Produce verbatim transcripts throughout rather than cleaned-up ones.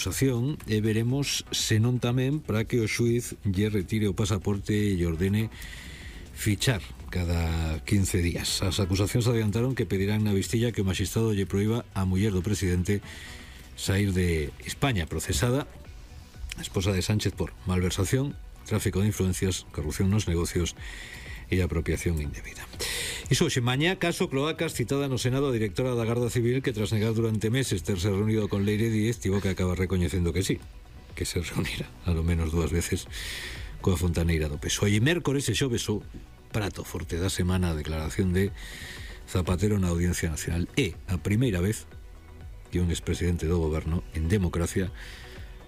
acusación e veremos senón tamén para que o xuiz lle retire o pasaporte e lle ordene fichar cada quince días. As acusacións adiantaron que pedirán na vistilla que o magistrado lle proíba a muller do presidente sair de España, procesada a esposa de Sánchez por malversación, tráfico de influencias, corrupción nos negocios e apropiación indebida. Iso hoxe, mañá, caso Cloacas, citada no Senado a directora da Garda Civil que tras negar durante meses terse reunido con Leire Díez tivo que acabar recoñecendo que sí, que se reunira a lo menos dúas veces coa fontaneira do P S O E. E mércores e xoves o prato forte da semana a declaración de Zapatero na Audiencia Nacional. É a primeira vez que un expresidente do goberno en democracia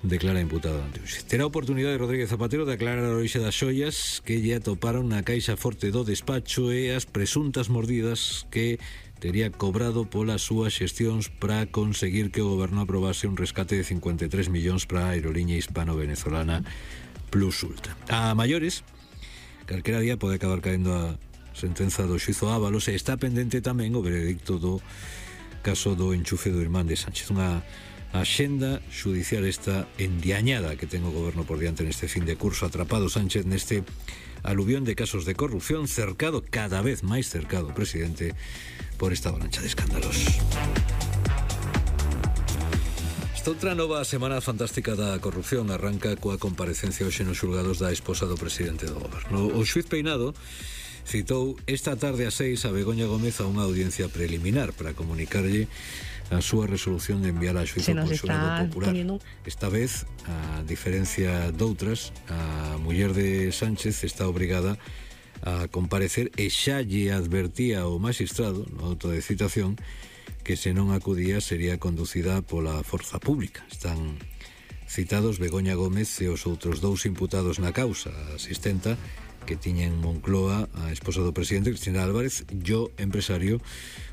declara imputado ante o xuíz. Terá oportunidade Rodríguez Zapatero de aclarar a orixe das xoias que lle atoparon na caixa forte do despacho e as presuntas mordidas que tería cobrado polas súas xestións para conseguir que o goberno aprobase un rescate de cincuenta e tres millóns para a aeroliña hispano-venezolana Plus Ultra. A maiores, calquera día pode acabar caendo a sentenza do xuízo Ábalos e está pendente tamén o veredicto do caso do enchufe do irmán de Sánchez. Unha a xenda xudicial esta endiañada que ten o goberno por diante neste fin de curso, atrapado Sánchez neste aluvión de casos de corrupción, cercado, cada vez máis cercado, presidente, por esta avalancha de escándalos. Esta outra nova semana fantástica da corrupción arranca coa comparecencia hoxe nos xulgados da esposa do presidente do goberno. O xuíz Peinado citou esta tarde ás seis a Begoña Gómez a unha audiencia preliminar para comunicarlle a súa resolución de enviar a xuízo por xurado popular. Poniendo... Esta vez, a diferencia doutras, a muller de Sánchez está obrigada a comparecer e xa lle advertía ao magistrado, no auto de citación, que se non acudía sería conducida pola forza pública. Están citados Begoña Gómez e os outros dous imputados na causa, a asistenta que tiña en Moncloa a esposa do presidente, Cristina Álvarez, e o empresario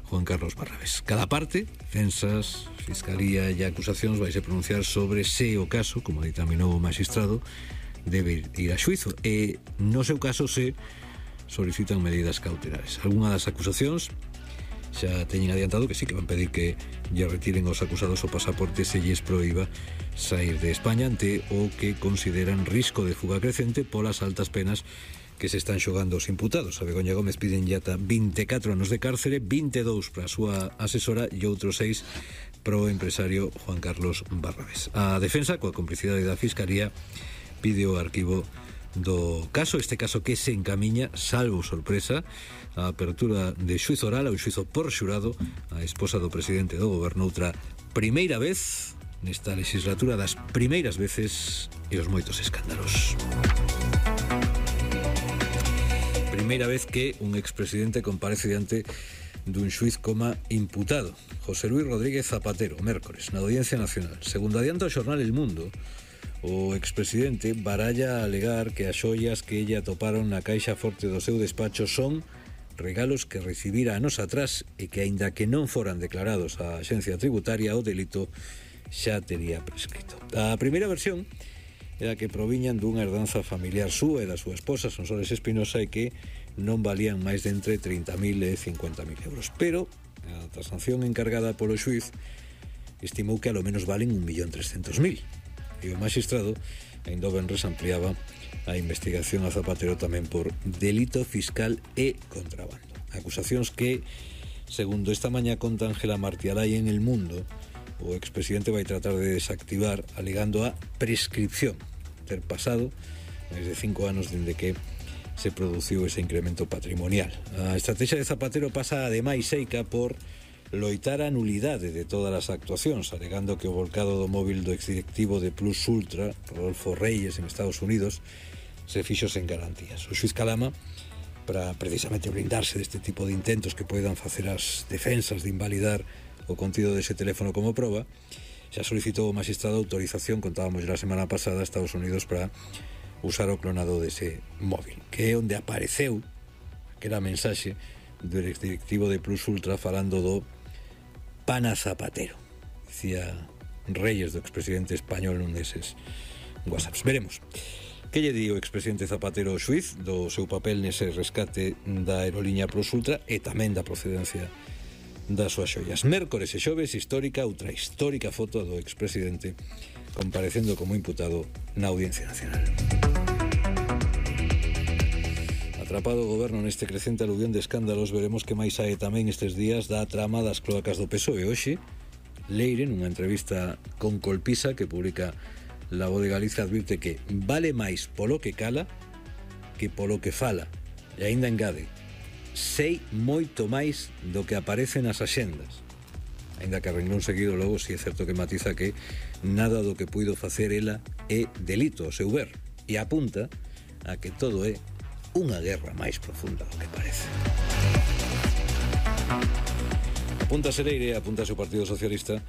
Juan Carlos Barrabés. Cada parte, defensas, fiscalía e acusacións vaise pronunciar sobre se o caso, como ditaminou o magistrado, debe ir a xuízo e, no seu caso, se solicitan medidas cautelares. Algunha das acusacións xa teñen adiantado que sí que van pedir que lle retiren aos acusados o pasaporte se lles proíba sair de España ante o que consideran risco de fuga crecente polas altas penas que se están xogando os imputados. A Begoña Gómez piden ya ata vinte e catro anos de cárcere, vinte e dous para a súa asesora e outros seis para o empresario Juan Carlos Barrabés. A defensa, coa complicidade da Fiscalía, pide o arquivo do caso, este caso que se encamiña, salvo sorpresa, a apertura de xuízo oral ao xuízo por xurado a esposa do presidente do goberno, outra primeira vez nesta legislatura, das primeiras veces e os moitos escándalos. Primeira vez que un expresidente comparece diante dun xuiz coma imputado. José Luis Rodríguez Zapatero, mércores, na Audiencia Nacional. Segundo adianta o xornal El Mundo, o expresidente baralla a alegar que as xoias que ella atoparon na caixa forte do seu despacho son regalos que recibira anos atrás e que, aínda que non foran declarados á Axencia Tributaria, o delito xa tería prescrito. A primeira versión era que proviñan dunha herdanza familiar súa e da súa esposa, Sonsoles Espinosa, e que non valían máis de entre trinta mil e cincuenta mil euros. Pero a tasación encargada polo xuiz estimou que a lo menos valen un millón trescentos mil. E o magistrado, ainda o venres, ampliaba a investigación a Zapatero tamén por delito fiscal e contrabando. Acusacións que, segundo esta mañá conta Ángela Martialay en El Mundo, o expresidente vai tratar de desactivar alegando a prescripción, ter pasado máis de cinco anos dende que se produciu ese incremento patrimonial. A estrategia de Zapatero pasa ademais seica por loitar a nulidade de todas as actuacións, alegando que o volcado do móvil do exdirectivo de Plus Ultra, Rodolfo Reyes, en Estados Unidos, se fixo sen garantías. O xuiz Calama, para precisamente blindarse deste tipo de intentos que poidan facer as defensas de invalidar o contido dese teléfono como proba, xa solicitou o magistrado autorización, contábamos la semana pasada, a Estados Unidos para usar o clonado dese móvil, que é onde apareceu aquela mensaxe do exdirectivo de Plus Ultra falando do pana Zapatero, dicía Reyes, do expresidente español, nun deses whatsapps. Veremos que lle di o expresidente Zapatero ao xuiz do seu papel nese rescate da aeroliña Plus Ultra e tamén da procedencia das súas xoias. Mércores e xoves, histórica, outra histórica foto do expresidente comparecendo como imputado na Audiencia Nacional. Atrapado o goberno neste crecente aluvión de escándalos, veremos que máis sae tamén estes días da trama das cloacas do P S O E. Hoxe, Leire, nunha entrevista con Colpisa que publica La Voz de Galicia, advirte que vale máis polo que cala que polo que fala. E aínda engade, sei moito máis do que aparece nas axendas. Aínda que a renglón seguido logo si é certo que matiza que nada do que puido facer ela é delito ao seu ver, e apunta a que todo é unha guerra máis profunda do que parece. Apunta Leire, apunta o Partido Socialista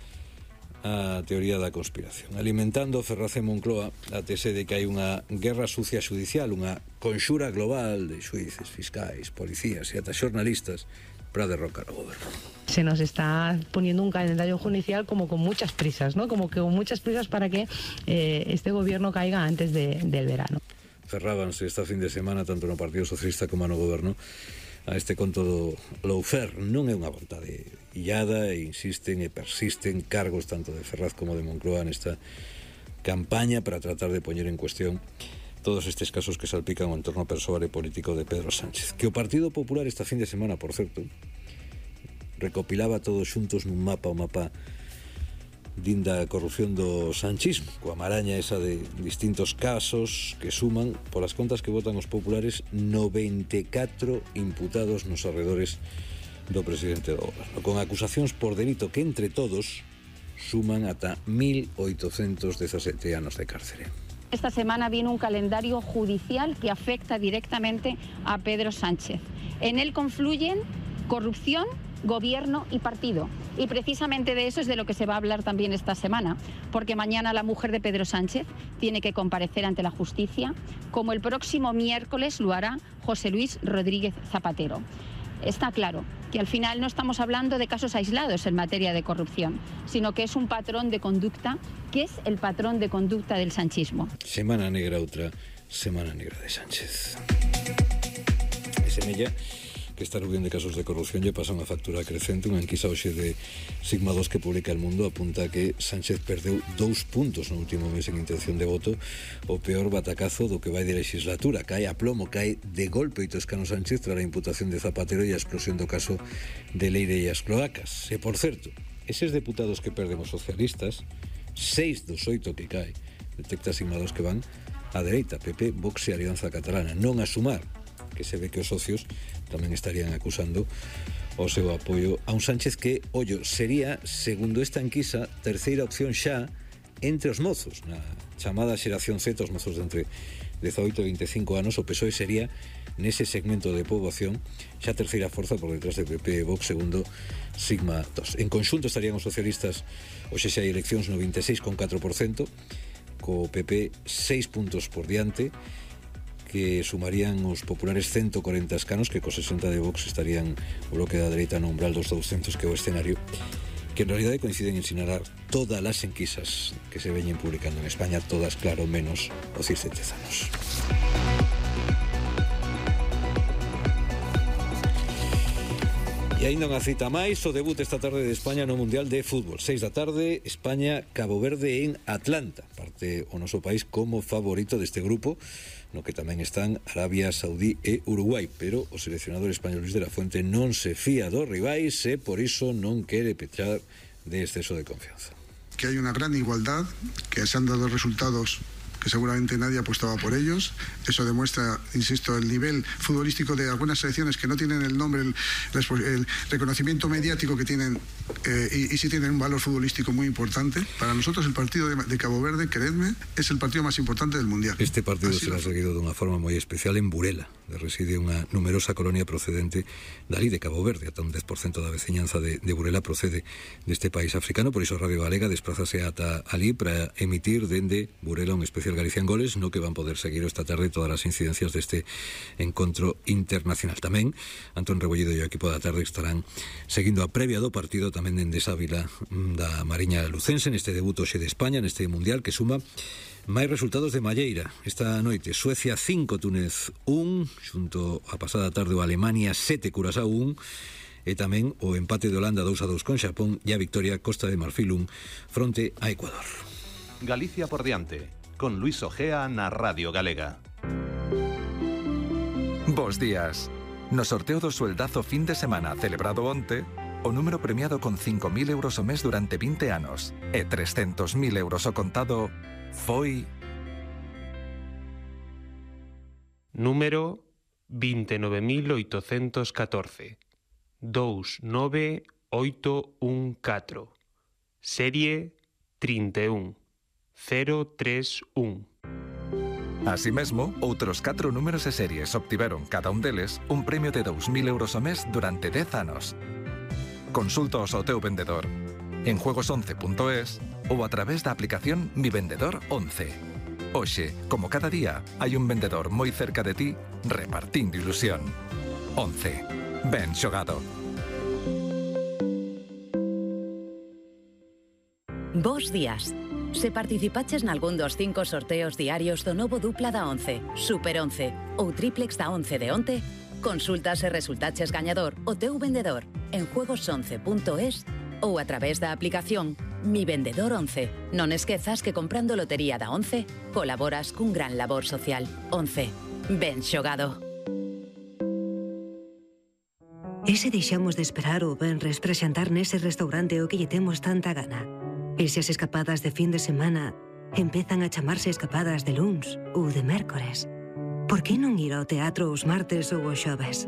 a teoría da conspiración, alimentando Ferraz e Moncloa a tese de que hai unha guerra sucia judicial, unha conxura global de xuíces, fiscais, policías e ata xornalistas para derrocar o goberno. Se nos está poniendo un calendario judicial como con muchas prisas, ¿no? Como que con muchas prisas para que eh, este gobierno caiga antes de, del verano. Cerrábanse esta fin de semana tanto no Partido Socialista como no goberno a este conto do lawfare. Non é unha vontade illada e insisten e persisten cargos tanto de Ferraz como de Moncloa nesta campaña para tratar de poñer en cuestión todos estes casos que salpican o entorno persoal e político de Pedro Sánchez, que o Partido Popular esta fin de semana, por certo, recopilaba todos xuntos nun mapa, o mapa dinda corrupción do sanchismo, coa maraña esa de distintos casos que suman, polas contas que votan os populares, noventa e catro imputados nos arredores do presidente do goberno, con acusacións por delito que entre todos suman ata mil oitocentos dezasete anos de cárcere. Esta semana viene un calendario judicial que afecta directamente a Pedro Sánchez. En él confluyen corrupción, gobierno y partido. Y precisamente de eso es de lo que se va a hablar también esta semana, porque mañana la mujer de Pedro Sánchez tiene que comparecer ante la justicia, como el próximo miércoles lo hará José Luis Rodríguez Zapatero. Está claro que al final no estamos hablando de casos aislados en materia de corrupción, sino que es un patrón de conducta, que es el patrón de conducta del sanchismo. Semana negra, outra semana negra de Sánchez. E semella que esta aluvión de casos de corrupción lle pasa unha factura crecente. Unha enquisa hoxe de Sigma dos que publica El Mundo apunta que Sánchez perdeu dous puntos no último mes en intención de voto, o peor batacazo do que vai de legislatura. Cae a plomo, cae de golpe oito escanos Sánchez tras a imputación de Zapatero e a explosión do caso de Leire e as cloacas. E, por certo, eses deputados que perden os socialistas, seis dos oito que cae, detecta Sigma dos que van á dereita, P P, Vox e Alianza Catalana, non a Sumar, que se ve que os socios tamén estarían acusando o seu apoio a un Sánchez que, ollo, sería, segundo esta enquisa, terceira opción xa entre os mozos, na chamada xeración Z, os mozos de entre dezaoito e veinticinco anos. O P S O E sería, nese segmento de poboación, xa terceira forza por detrás de P P e Vox, segundo Sigma dos. En conxunto estarían os socialistas, hoxe xa hai eleccións, noventa e seis coma catro por cento, co P P seis puntos por diante, que sumarían os populares ciento corenta escanos, que co sesenta de Vox estarían o bloque da dereita no umbral dos douscentos, que é o escenario que en realidade coinciden en sinalar todas as enquisas que se veñen publicando en España, todas, claro, menos os circentezanos. E aínda unha cita máis, o debut esta tarde de España no Mundial de Fútbol. seis da tarde, España, Cabo Verde en Atlanta. Parte o noso país como favorito deste grupo, no que tamén están Arabia Saudí e Uruguai, pero o seleccionador español Luis de la Fuente non se fía dos rivais e por iso non quere pechar de exceso de confianza. Que hay una gran igualdad, que se han dado resultados que seguramente nadie apostaba por ellos. Eso demuestra, insisto, el nivel futbolístico de algunas selecciones que no tienen el nombre, el, el reconocimiento mediático que tienen, eh, y, y sí tienen un valor futbolístico muy importante. Para nosotros el partido de, de Cabo Verde, creedme, es el partido más importante del Mundial. Este partido Así será lo... seguido dunha forma moi especial en Burela, de reside unha numerosa colonia procedente dali de Cabo Verde. Ata un dez por cento da veciñanza de, de Burela procede deste país africano, por iso Radio Galega desplázase ata ali para emitir dende Burela un especial Galicia en Goles, no que van poder seguir esta tarde todas as incidencias deste encontro internacional. Tamén Antón Rebollido e o equipo da tarde estarán seguindo a previa do partido tamén dende esa vila da Mariña Lucense neste debut hoxe de España neste Mundial, que suma máis resultados de malleira. Esta noite Suecia cinco, Túnez un, xunto a pasada tarde o Alemania sete, Curaçao un, e tamén o empate de Holanda dous a dous con Xapón e a victoria Costa de Marfil un fronte a Ecuador. Galicia por diante, con Luis Ojea na Radio Galega. Bos días. No sorteo do sueldazo fin de semana celebrado onte, o número premiado con cinco mil euros o mes durante vinte anos e trescentos mil euros o contado foi... Número vinte e nove mil oitocentos catorce. dous nove oito un catro. Serie trinta e un cero tres un. Así mesmo, outros catro números e series obtiveron cada un deles un premio de dous mil euros o mes durante dez anos. Consultaos ao teu vendedor en juegos once punto es ou a través da aplicación Mi Vendedor once. Hoxe, como cada día, hai un vendedor moi cerca de ti repartindo ilusión. once. Ben xogado. Bos días. Se participaches nalgún dos cinco sorteos diarios do novo dupla da once, Super once ou triplex da once de onte, consulta se resultaches gañador o teu vendedor en juegos once punto es ou a través da aplicación Mi Vendedor once. Non esquezas que comprando lotería da once colaboras cun gran labor social. once. Ben xogado. E se deixamos de esperar o venres para xantar nese restaurante o que lle temos tanta gana? E se as escapadas de fin de semana empezan a chamarse escapadas de luns ou de mércores? Por que non ir ao teatro os martes ou os xoves?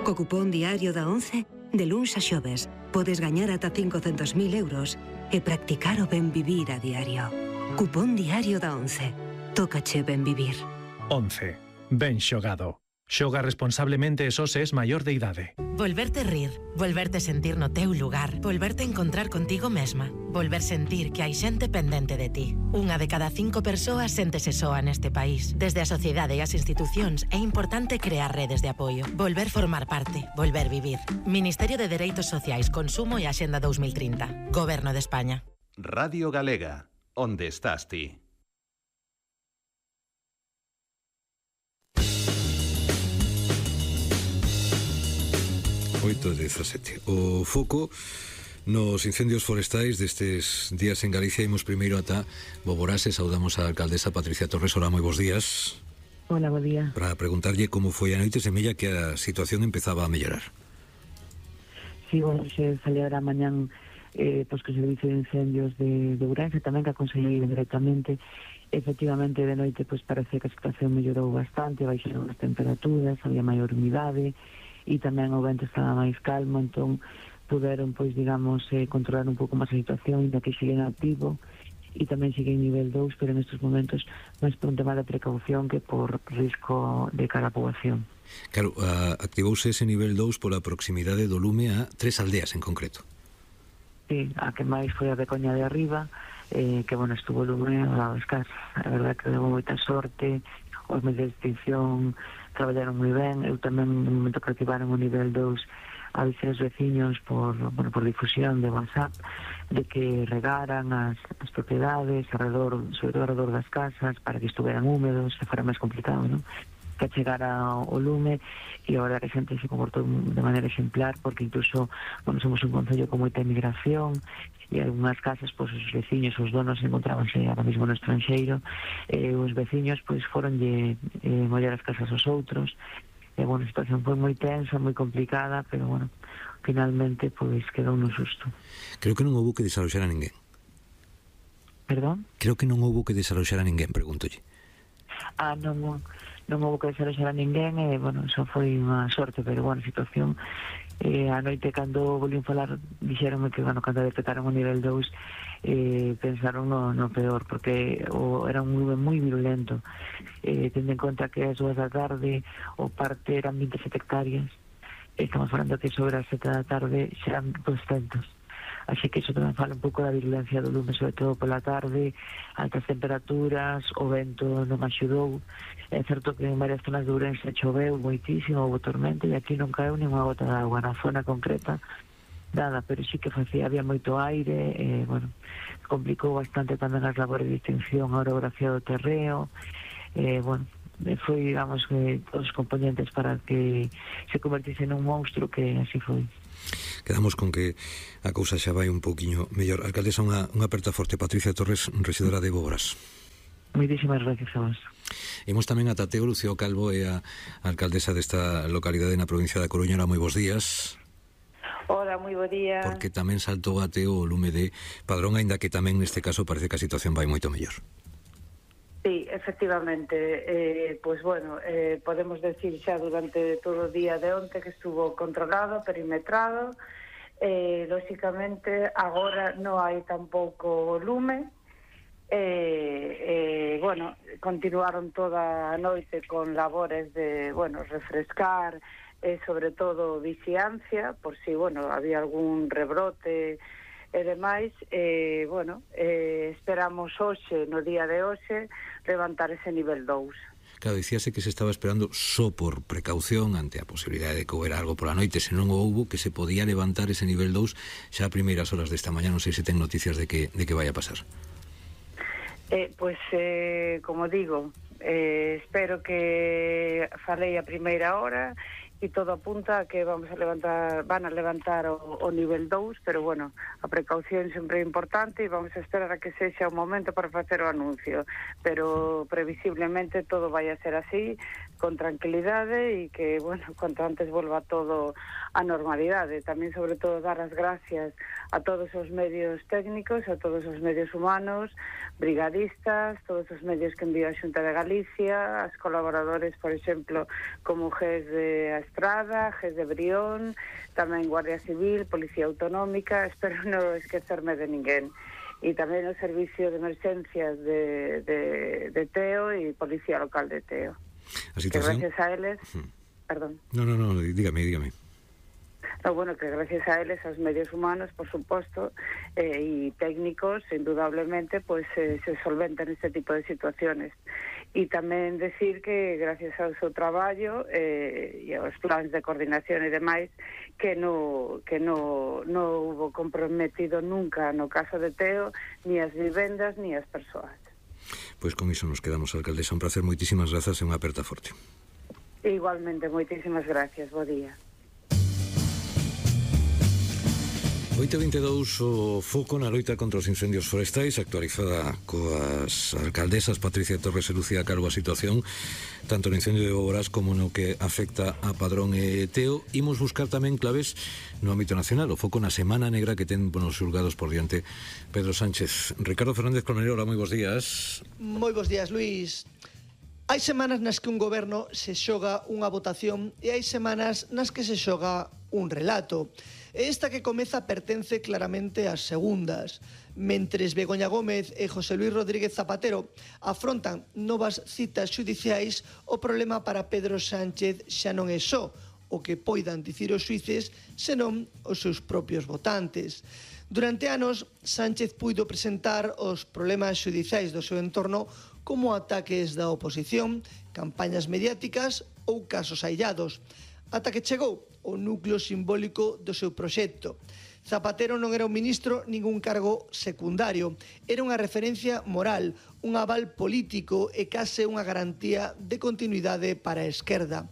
Co cupón diario da once, de luns a xoves, podes gañar ata cincocentos mil euros e practicar o ben vivir a diario. Cupón diario da once. Tócache ben vivir. once. Ben xogado. Xoga responsablemente e só se es maior de idade. Volverte rir, volverte sentir no teu lugar, volverte encontrar contigo mesma, volver sentir que hai xente pendente de ti. Unha de cada cinco persoas séntese soa neste país. Desde a sociedade e as institucións é importante crear redes de apoio, volver formar parte, volver vivir. Ministerio de Dereitos Sociais, Consumo e Axenda dos mil trinta. Goberno de España. Radio Galega, onde estás ti? oito dezasete. O foco nos incendios forestais destes días en Galicia. Imos primeiro ata Boborase. Saudamos a alcaldesa Patricia Torres. Hola, moi bons días. Hola, bo día. Para preguntarlle como foi a noite, semella que a situación empezaba a mellorar. Sí, bueno, se celebra mañán eh, pues que o Servicio de Incendios de, de Ourense, tamén que a Consellería directamente. Efectivamente, de noite pues parece que a situación mellorou bastante, baixaron as temperaturas, había maior humidade, e tamén o vento estaba máis calmo, entón puderon, pois, digamos, eh, controlar un pouco máis a situación, ainda que siguen activo, e tamén sigue en nivel dous, pero nestes momentos máis por un tema de precaución que por risco de cara a poboación. Claro, uh, activouse ese nivel dous pola proximidade do lume a tres aldeas en concreto. Sí, a que máis foi a de Coña de Arriba, eh, que, bueno, estuvo o lume ao lado das casas. A verdade que deu moita sorte, os medios de extinción traballaron moi ben. Eu tamén no momento que activaron o nivel dous avisei aos veciños por, bueno, por difusión de WhatsApp de que regaran as, as propiedades alrededor, sobre todo alrededor das casas, para que estuveran húmedos, que fora máis complicado, non? Que chegara o lume, e a verdade que a xente se comportou de maneira exemplar, porque incluso, bueno, somos un concello con moita emigración, e algunhas casas, pois, os veciños, os donos encontrábanse ahora mismo no estranxeiro, e os veciños, pois, foronlle eh, mollar as casas aos outros, e, bueno, a situación foi moi tensa, moi complicada, pero, bueno, finalmente, pois, quedou no susto. Creo que non houbo que desaloxar a ninguén. Perdón? Creo que non houbo que desaloxar a ninguén, pregúntolle. Ah, non, non, non houbo que desaloxar a ninguén, e, bueno, eso foi unha sorte, pero, bueno, a situación... Eh, a noite, cando volvín falar, dixeronme que, bueno, cando detectaron o nivel dous, eh, pensaron no, no peor, porque o, era un nube moi virulento. Eh, tendo en conta que as dúas da tarde o parte eran veintisiete hectáreas, estamos falando que sobre as sete da tarde xeran doscientos. Así que iso tamén fala un pouco da virulencia do lume, sobre todo pola tarde, altas temperaturas, o vento non axudou. É certo que en varias zonas de Ourense choveu moitísimo, houve tormenta, e aquí non caeu nin unha gota de agua na zona concreta, nada, pero sí que facía, había moito aire, e, bueno, complicou bastante tamén as labores de extinción, a orografía do terreo, e, bueno, foi, digamos, que todos os componentes para que se convertise nun monstruo, que así foi. Quedamos con que a cousa xa vai un pouquiño mellor. Alcaldesa, unha, unha aperta forte. Patricia Torres, rexedora de Bogoras. Moitísimas gracias a vos. Imos tamén a Tateo Lucio Calvo, e a alcaldesa desta localidade na provincia da Coruña. Moi bons días. Hola, moi bo día. Porque tamén saltou a Teo o lume de Padrón, aínda que tamén neste caso parece que a situación vai moito mellor. Sí, efectivamente, eh, pois bueno, eh, podemos decir xa durante todo o día de onte que estuvo controlado, perimetrado, eh, lóxicamente agora non hai tampouco lume, eh, eh, bueno, continuaron toda a noite con labores de, bueno, refrescar, e sobre todo vixiancia, por si, bueno, había algún rebrote e demais, e, bueno, eh, esperamos hoxe, no día de hoxe, levantar ese nivel dous. Claro, dicíase que se estaba esperando só por precaución ante a posibilidade de que houbera algo pola noite, se non o houbo, que se podía levantar ese nivel dous xa a primeiras horas desta mañá. Non sei se ten noticias de que, de que vai a pasar. Eh, pois, eh, como digo, eh, espero que falei a primeira hora, e todo apunta a que vamos a levantar, van a levantar o, o nivel dous, pero bueno, a precaución sempre é importante e vamos a esperar a que sexa o momento para facer o anuncio, pero previsiblemente todo vai a ser así, con tranquilidade, e que, bueno, cuanto antes volva todo a normalidade. Tamén, sobre todo, dar as gracias a todos os medios técnicos, a todos os medios humanos, brigadistas, todos os medios que enviou a Xunta de Galicia, as colaboradores, por exemplo, como G E S de Estrada, G E S de Brión, tamén Guardia Civil, Policía Autonómica, espero non esquecerme de ninguén. E tamén o Servicio de Emergencias de, de, de Teo e Policía Local de Teo. A situación... Que gracias a eles... Hmm. Perdón. No, no, no, dígame, dígame. No, bueno, que gracias a eles, aos medios humanos, por suposto, eh, e técnicos, indudablemente, pues eh, se solventan este tipo de situaciones. E tamén decir que gracias ao seu traballo eh, e aos plans de coordinación e demais, que no, que no, no hubo comprometido nunca no caso de Teo ni as vivendas ni as persoas. Pois con iso nos quedamos, alcaldesa. Un placer, moitísimas grazas e unha aperta forte. Igualmente, moitísimas gracias. Bo día. oito e vinte e dous, o foco na loita contra os incendios forestais, actualizada coas alcaldesas Patricia Torres e Lucía Calvo a situación, tanto no incendio de Bogoras como no que afecta a Padrón e Teo. Imos buscar tamén claves no ámbito nacional, o foco na Semana Negra que ten nos xulgados por diante Pedro Sánchez. Ricardo Fernández Colmenero, hola, moi bons días. Moi bons días, Luís. Hai semanas nas que un goberno se xoga unha votación e hai semanas nas que se xoga un relato. Esta que comeza pertence claramente ás segundas. Mentres Begoña Gómez e José Luis Rodríguez Zapatero afrontan novas citas xudiciais, o problema para Pedro Sánchez xa non é só o que poidan dicir os xuíces, senón os seus propios votantes. Durante anos, Sánchez puido presentar os problemas xudiciais do seu entorno como ataques da oposición, campañas mediáticas ou casos aillados, ata que chegou o núcleo simbólico do seu proxecto. Zapatero non era un ministro nin un cargo secundario, era unha referencia moral, un aval político e case unha garantía de continuidade para a esquerda.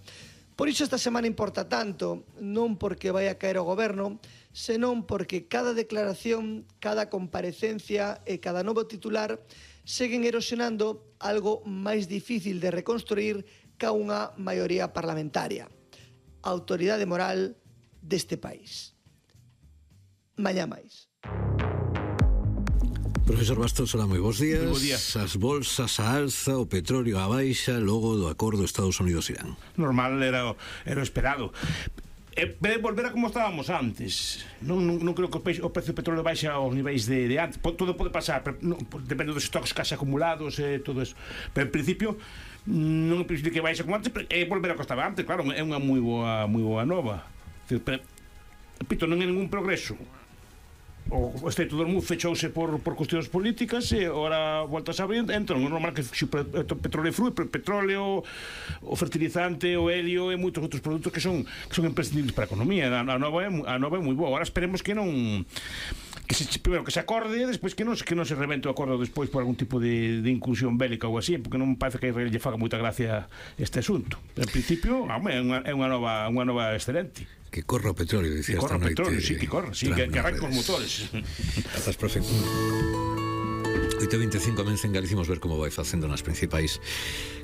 Por iso esta semana importa tanto, non porque vai a caer o goberno, senón porque cada declaración, cada comparecencia e cada novo titular seguen erosionando algo máis difícil de reconstruir ca unha maioría parlamentaria: a autoridade moral deste país. Mañá máis. Profesor Bastos, hola, moi bons días. Moi bons días. As bolsas a alza, o petróleo a baixa, logo do acordo Estados Unidos-Irán. Normal, era o, era o esperado. E pode volver a como estábamos antes. Non, non, non creo que o, peixe, o precio do petróleo baixe aos niveis de, de antes. Todo pode pasar, pero non, depende dos stocks case acumulados e todo eso. Pero en principio non é preciso que baixe como antes, é volver a que estaba antes. Claro, é unha moi boa, moi boa nova. Pero, repito, non é ningún progreso. O Estreito de Hormuz fechouse por, por cuestións políticas e ora voltas a abrir, entón é normal que o petróleo frue, o petróleo, o fertilizante, o helio e moitos outros produtos que son que son imprescindibles para a economía. A, a nova é a nova é moi boa. Agora esperemos que non que se, primero que se acorde e despois que non que non se rebente o acordo despois por algún tipo de, de incursión bélica ou así, porque non parece que a Israel lle faga moita gracia este asunto. En principio, home, é unha, é unha nova unha nova excelente. Que corra o petróleo, dicía esta noite. Que corra o petróleo, sí, que corra, sí, que, que arranca os motores. Grazas, profe. oito e veinticinco amencen Galicimos ver como vai facendo nas principais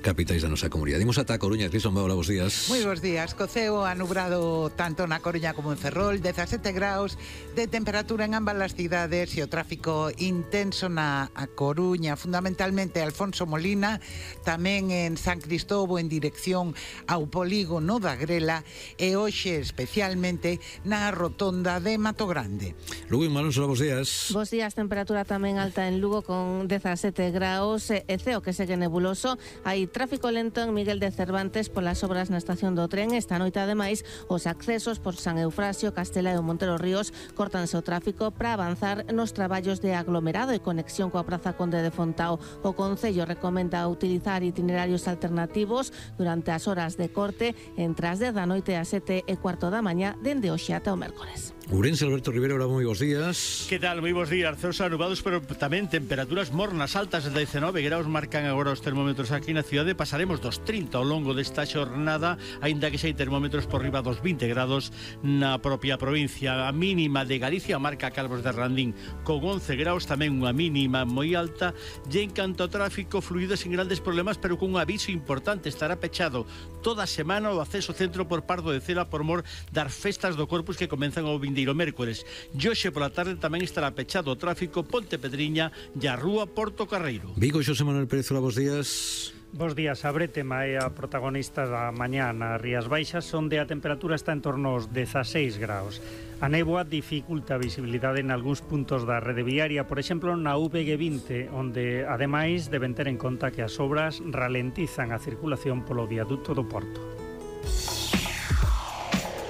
capitais da nosa comunidade. Dimos ata a Coruña, Crison Bau, bos días. Moi bons días, coceo anubrado tanto na Coruña como en Ferrol, dezasete graus de temperatura en ambas as cidades e o tráfico intenso na a Coruña, fundamentalmente Alfonso Molina, tamén en San Cristóbal en dirección ao polígono da Grela e hoxe especialmente na rotonda de Mato Grande. Lugo en Malonso, bos días. Bos días, temperatura tamén alta en Lugo con dezasete graus e ceo que segue nebuloso. Hai tráfico lento en Miguel de Cervantes polas obras na estación do tren. Esta noite, ademais, os accesos por San Eufrasio, Castela e o Montero Ríos cortanse o tráfico para avanzar nos traballos de aglomerado e conexión coa Praza Conde de Fontao. O Concello recomenda utilizar itinerarios alternativos durante as horas de corte entre as dez da noite e as sete e cuarto da mañá dende hoxe ata o mércores. Ourense, Alberto Rivera, hola, moi bons días. Que tal? Moi bons días. Ceos anubados, pero tamén temperaturas mornas altas de dezanove graus marcan agora os termómetros aquí na cidade. Pasaremos dos trinta ao longo desta xornada, aínda que xa hai termómetros por riba dos vinte grados na propia provincia. A mínima de Galicia marca Calvos de Randín con once graus, tamén unha mínima moi alta. E en canto ao tráfico, fluido sin grandes problemas, pero cun aviso importante: estará pechado toda a semana o acceso centro por Pardo de Cela por mor das festas do Corpus que comenzan ao vindeiro mércores. E hoxe pola tarde tamén estará pechado o tráfico Ponte Pedriña e a Rúa Porto Carreiro. Vigo, Xosé Manuel Pérez, hola, bos días. Bos días, a Bretema é a protagonista da mañá nas Rías Baixas, onde a temperatura está en torno aos dezaseis graus. A néboa dificulta a visibilidade en algúns puntos da rede viaria, por exemplo na U V G vinte, onde ademais deben ter en conta que as obras ralentizan a circulación polo viaduto do Porto.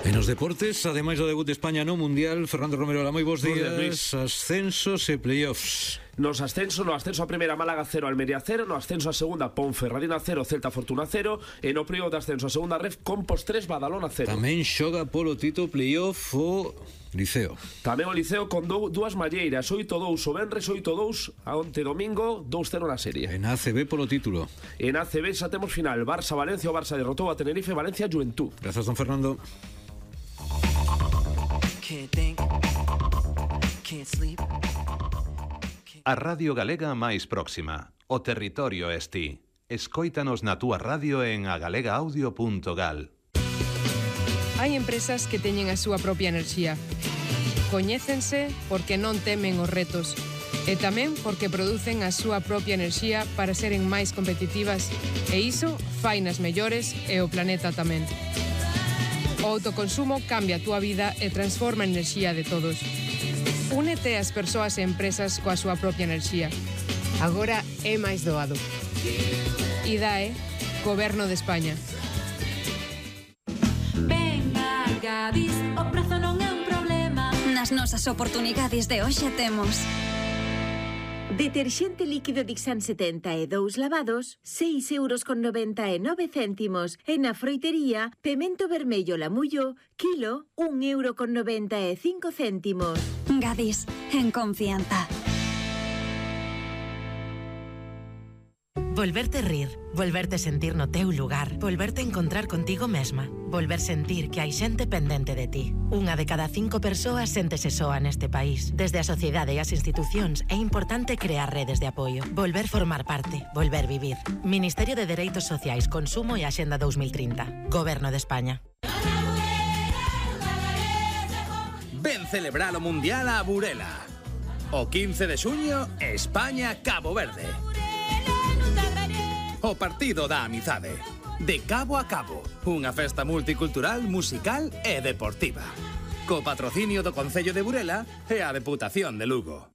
En os deportes, ademais do debut de España no Mundial, Fernando Romero, hola, moi bos días. Ascensos e playoffs. Nos ascenso, no ascenso a primeira Málaga cero, Almería cero, no ascenso a segunda Ponferradina cero, Celta Fortuna cero, e no playoff de ascenso a segunda Ref Compos tres, Badalona cero. Tamén xoga polo Tito playoff o Liceo. Tamén o Liceo con do, dúas malleiras, oito dous o Benres, oito dous a onte domingo, dous cero na serie. En A C B polo título. En A C B xa temos final, Barça-Valencia, o Barça derrotou a Tenerife, Valencia-Juventud. Grazas, don Fernando. A Radio Galega máis próxima. O territorio es ti. Escóitanos na túa radio en agalegaaudio punto gal. Hai empresas que teñen a súa propia enerxía. Coñécense porque non temen os retos e tamén porque producen a súa propia enerxía para seren máis competitivas, e iso fainas mellores e o planeta tamén. O autoconsumo cambia a túa vida e transforma a enerxía de todos. Únete ás persoas e empresas coa súa propia enerxía. Agora é máis doado. I D A E, Goberno de España. Venga, Gadis, o prezo non é un problema. Nas nosas oportunidades de hoxe temos deterxente líquido Dixan setenta e dous lavados, seis euros con noventa e nove céntimos. E na froitería, pemento vermello Lamullo, kilo, un euro con noventa e cinco céntimos. Gadis, en confianza. Volverte rir, volverte sentir no teu lugar, volverte encontrar contigo mesma, volver sentir que hai xente pendente de ti. Unha de cada cinco persoas séntese soa neste país. Desde a sociedade e as institucións é importante crear redes de apoio, volver formar parte, volver vivir. Ministerio de Dereitos Sociais, Consumo e Axenda dos mil trinta. Goberno de España. Ven celebrar o Mundial a Burela. O quince de xuño, España-Cabo Verde. O partido da amizade. De cabo a cabo, unha festa multicultural, musical e deportiva. Co patrocinio do Concello de Burela e a Deputación de Lugo.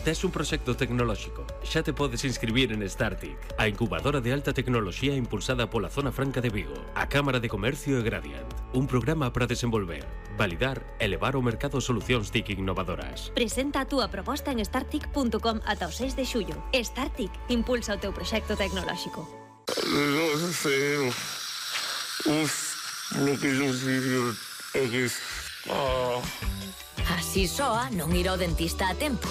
Tes un proxecto tecnolóxico, xa te podes inscribir en Startic, a incubadora de alta tecnoloxía impulsada pola Zona Franca de Vigo, a Cámara de Comercio e Gradiant. Un programa para desenvolver, validar e levar ao mercado solucións T I C innovadoras. Presenta a túa proposta en startic punto com ata o seis de xullo. Startic impulsa o teu proxecto tecnolóxico. Non sei. Uf, lo que yo sigo é que... Así soa non ir ao dentista a tempo.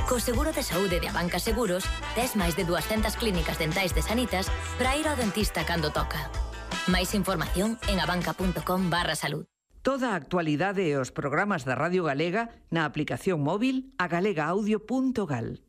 Co seguro de saúde de Abanca Seguros, tes máis de dúascentas clínicas dentais de Sanitas para ir ao dentista cando toca. Máis información en abanca punto com barra salud. Toda a actualidade e os programas da Radio Galega na aplicación móvil a galega audio punto gal.